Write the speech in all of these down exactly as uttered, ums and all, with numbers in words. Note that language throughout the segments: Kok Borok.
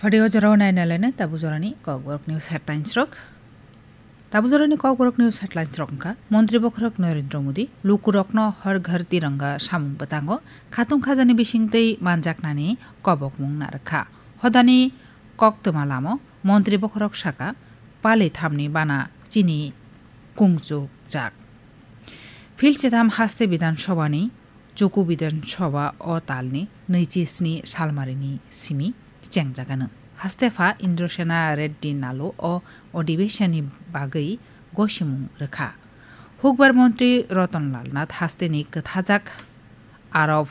Hode o jorao naina laina tabu jorani Kokborok News headlines rok. Tabu jorani Kokborok News headlines rok wngkha: Montri bokhorok Narendra Modi lukurokno Har Ghar Tiranga samung bwtango khatung khajani bisingtwi manjaknani kobokmung narwkha. Hodani koktwma lamo Montri bokhorok saka pali thamni bana chini kungchukjak. Phil chitham haste Bidhan Sabhani Chuku Bidhan Sabha o talni nwichi sni salmarini simi chengjagano. Haste pha Indrasena Reddy Nalu o odhibeshonni bagwi gosimung rwkha. Hukbar Montri Ratan Lal Nath hasteni kwthajak Arab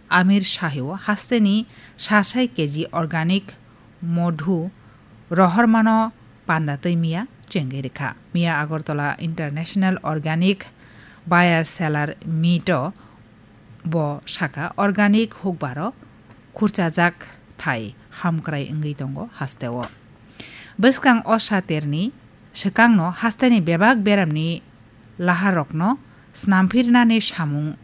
Amir Shahio hasteni sasai keji organic modhu rohormano panda twi miya chengwi rwkha. Miya Agartala International Organic Buyer Seller Meet o bo saka organic hukbaro khurchajak thai hamkrai wngwi tongo hasteo. Bwskang o saterni swkangno hasteni bebak beramni laharokno snamphirnani samung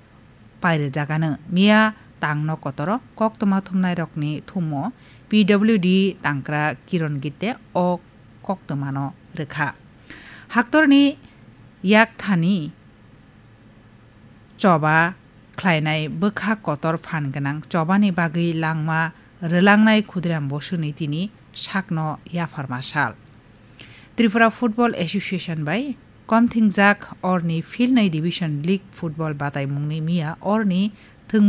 pairwjagano. Miya tangno kotoro koktwma thumnairokni thumo P W D tangkra Kiron Gitte o koktwmano rwkha. Haktorni yakthani choba khlainai bwkha kotor phan gwnang chobani bagwi langma rwlangnai Khudiram Bosuni tini sakno yapharma sal. Tripura Football Association bai komthingjak orni philnwi Division League football bataimungni miya orni thwngmung